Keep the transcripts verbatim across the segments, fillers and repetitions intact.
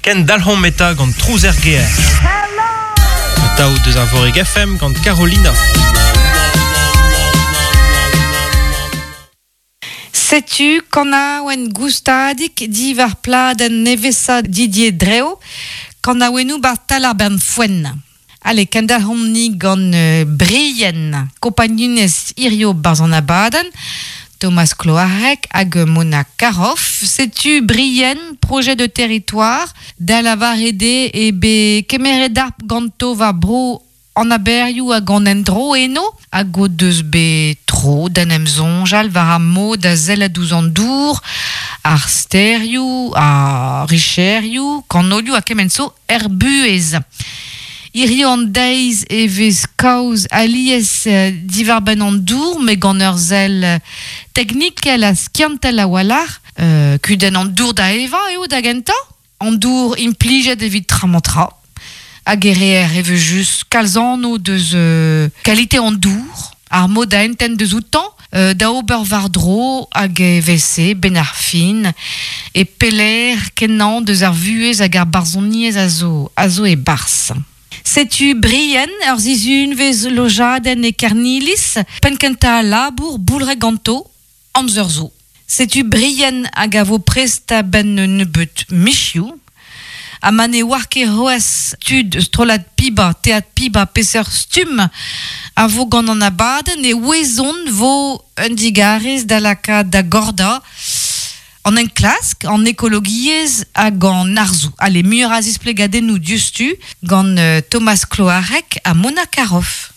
Ken dalc'homp eta gant trouz er gêr. Atao deus Arvorig F M gant Carolina. Setu kanaouenn goustadik diwar pladenn nevesa Didier Dreo, kanaouennoù bar tal ar bern foenn. Allez, kendalc'homp-ni gant euh, Brien, kompagnunez hirio barzh an abadenn, Thomas Cloarec hag Mona Caroff. Setu Brien, projet de territoire, da lavarede e be kemeret ar ganto war bro an aberioù hag an endro eno, hag o deus bet tro d'en em soñjal war ar mod da sellet ouzh an dour, ar sterioù, ar richerioù, kanolioù ha kement zo er buhez. Hirio an deiz e vez kaoz alies euh, diwar-benn an dour, met gant ur sell euh, teknikel ha skiantel a-walc'h, euh, kudenn an dour da evañ eo da gentañ, an dour implijet evit tra-mañ-tra. Hag e reer e vez just kalz anv deus euh, kalite an dour, ar mod da entent deus outañ, euh, da ober war-dro hag e vese ben ar fin, e peler kenañ deus ar vuhez hag ar barzhoniezh a zo, a zo e barzh. Setu Brien, ur sizhun vez lojadenn e Kernilis, penn kentañ labour boulre ganto, amzer zo. Setu Brien hag a vo prest a-benn nebeut michioù, ha ma ne oar ket c'hoazh tud strollad Piba, teatr Piba, peseurt stumm a vo gant an abadenn e ouezont vo un digarez da lakaat da gordañ an enklask, an ekologiezh hag an arzoù. Allez, muioc'h a zisplegadennoù diouzhtu gant euh, Thomas Cloarec ha Mona Caroff.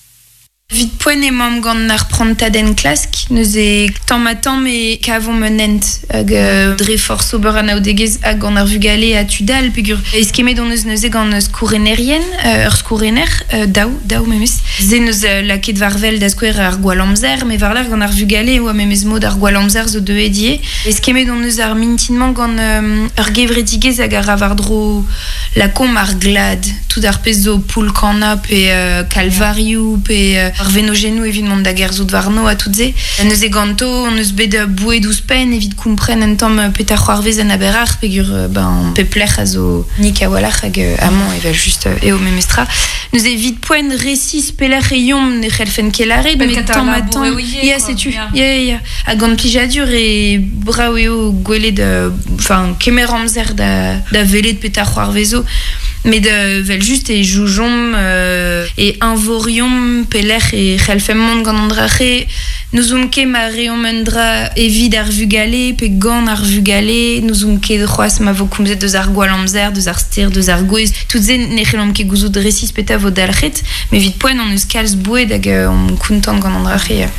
Vit poent emaomp gant ar prantad enklask, neuze tamm ha tamm e kavomp un hent hag euh, dre forzh ober anaoudegezh hag gant ar vugale ha tud all, peogwir eskemet hon eus neuze gant skourenerien, euh, ur skourener, euh, daou, daou memes. Se neus euh, lakaet war wel da skouer ar gwall amzer, met war-lerc'h gant ar vugale oa memes mod ar gwall amzer zo deuet ivez. Eskemet hon eus ar mintin-mañ gant euh, ur gevredigezh hag a ra war-dro lakaomp ar glad, tout ar pezh zo poull-kannañ pe euh, kalvarioù pe euh, ar venogennoù evit mont da gerzhout warno ha tout se. Neuze ganto, hon eus bet boued ouzhpenn evit kompren un tamm petra c'hoarvez en aberac'h, peogwir ben, pep lec'h a zo nik a-walc'h hag amañ evel just eo memestra. Neuze evit poent resis pelec'h e yomp ne c'hellfen ket lâret, Penn met kentañ tamm ha labour tamm. eo ivez, Ya, quoi. setu. Ya. Ya, ya, ya. Hag gant plijadur e brav eo gwelet, enfin, kemer amzer da, da welet petra c'hoarvezo. Met euh, vel just e joujomp euh, e eñvoriomp pelec'h e c'hellfemp mont gant an dra-se. N'ouzomp ket ma reomp un dra evit ar vugale pe gant ar vugale, n'ouzomp ket c'hoazh ma vo komzet deus ar gwall amzer, deus ar ster, deus ar gwez. Tout se ne c'hellomp ket gouzout resis petra vo dalc'het, met evit poent hon eus kalz boued hag euh, on kontant gant an dra-se.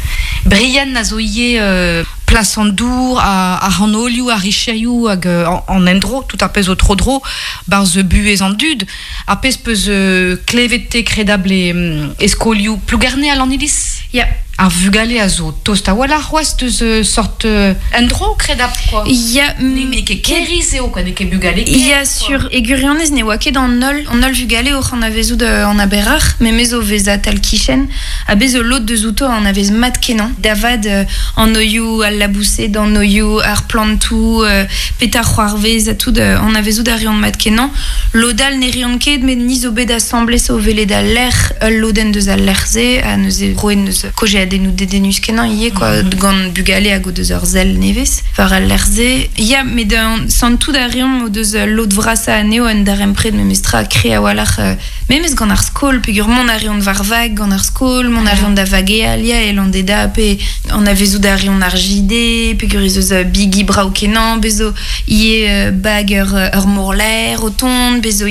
Brien a zo ivez euh, plas an dour, a, a c'hanolioù, a richerioù hag euh, an, an endro, tout ar pezh zo tro-dro, barzh buhez an dud, ar pezh peus euh, klevet te kredabl e, mm, e skolioù Plougerne a Lanniliz. Ya. Ar vugale a zo tost a-walc'h c'hoazh deus euh, sort euh, endro kredabl, quoi. Ya, Ne n'eo ket kêriz eo, quoi, n'eo ket bugale kêr, Ya, quoi. sur e gwirionez ne oa ket an holl, an holl vugale oc'h anavezout euh, an aberac'h, memes o vezañ tal kichen, ha bez zo lod deus outo anavez mat kenañ. Da vat euh, an oioù al laboused, an oioù ar plantoù, euh, petra c'hoarvez ha tout euh, anavezout a reont mat kenañ. Lod all ne reont ket, met ni zo bet asambles o welet al lec'h, ul lodenn deus al lec'h-se, ha neuze roet neus kaozeadennoù dedennus kenañ ivez, quoi, Mhm. gant bugale hag o deus ur sell nevez war al lec'h-se. Ya, met euh, santout a reomp o deus euh, lod vrasañ anezho un darempred memestra kre a-walc'h, euh, memes gant ar skol, peogwir mont a reont war vag gant ar skol, mont a reont da vageal, ya, e Landeda, pe anavezout a reont ar J D, peogwir ez eus euh, bigi brav kenañ, bez zo ivez euh, bag ur, ur morlaer o tont, bez zo